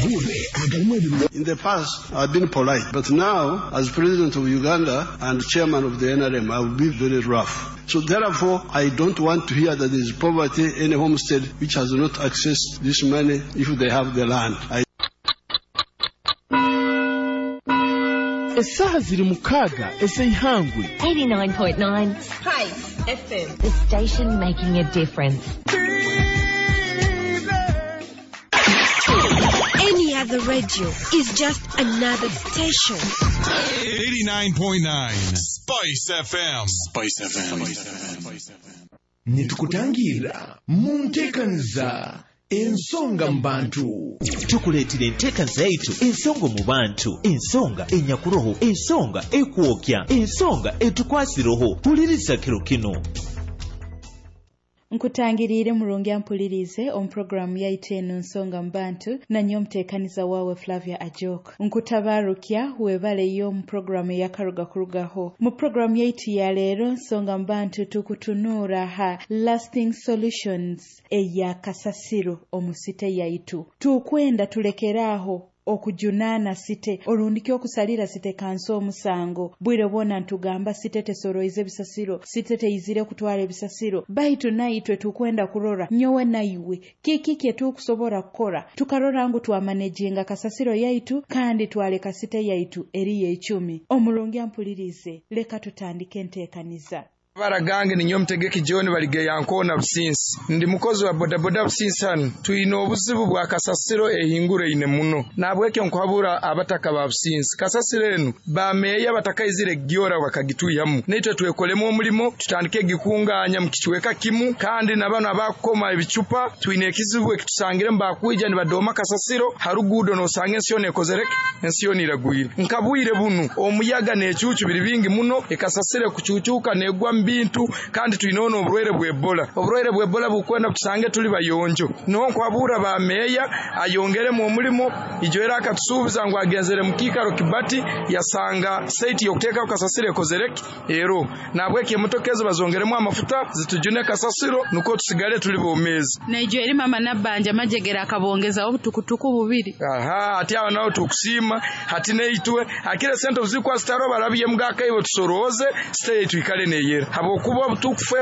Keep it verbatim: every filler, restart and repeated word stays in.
Amahurire agarimu ebirungi. In the past, I've been polite, but now, as president of Uganda and chairman of the N R M, I will be very rough. So therefore, I don't want to hear that there is poverty in a homestead which has not accessed this money if they have the land. I Essaaha ziri mukaaga ez'eihangwe. eighty-nine point nine Spice F M. The station making a difference. Any other radio is just another station. eighty-nine point nine Spice F M. Spice F M. Nitukutangira mu nteekaniza Ensonga mu Bantu. Tukuleetera enteekaniza yaitu Ensonga mu Bantu, ensonga enyakuroho, ensonga ekwokya, ensonga etukwasiroho. Huliriza kiro kino. Nkutangiriire murungi ampulirize omu puroguramu yaitu eno Nsonga mu Bantu, nanye omuteekaniza waawe Flavia Ajok. Nkutabaarukya, webaleyo mu puroguramu eyakaruga kurugaho. Mu puroguramu yaitu ya leero Nsonga mu Bantu, tukutunuura ha lasting solutions eya kasasiro omu city yaitu. Tukwenda tulekeraaho okujunaana city orundiki okusalira city council omusango. Bwire bwona ntugamba city tesoroize ebisasiro, city teyizire kutwara ebisasiro, baitu naitwe tukwenda kurora nyowe naiwe kiki kye tukusobora kukora tukarora ngu twamaneginga kasasiro yaitu kandi twaleka city yaitu eriyo ecumi. Omurungi ampulirize, leka tutandike enteekaniza. Baragange ninyo Mutegeki John Baligeya Nkoona Businsi, ndi mukozi wa bodaboda Businsi. Hano twine obuzibu bwa kasasiro ehinguraine muno, nabwekyo nkuhabura abataka ba Businsi, kasasiro enu bameeya batakaizire gyora bakagituyamu, naitwe twekolemu omulimo, tutandike gikunganya mu kicweka kimu. Kandi nabano abakukoma ebicupa, twine ekizibu ekitusangire, bakwija nibadoma kasasiro harugudo, nosanga ensi yona ekozereke, ensi yona iragwire. Nkabwire bunu omuyaga n'ecucu biri bingi muno, ekasasiro kucucuka negwa mu bintu, kandi twine n'oburwaire bwa Ebola. Oburwaire bwa Ebola bukwenda tusange tuli bayonjo. Niho nkwabura ba meeya ayongeremu omulimo. Ijo era akatusuubiza ngu agenzere mu kiikaro Kibati, yasanga site y'okuteekaho kasasiro ekozereke ero, nabwekyo emotoka ezo bazongeremu amafuta zitujune kasasiro, nukwo tusigale tuli bomeezi. Naijo eri mama Nabbanja majegera akabongezaho obutukutuku bubiri. Aha, ati awo nawo tukusiima. Hati neitwe akire sente obuzikwa zitaro barabye mugakaibo, tusorooze site yaitu ikale neyera, habwokuba obutukufu.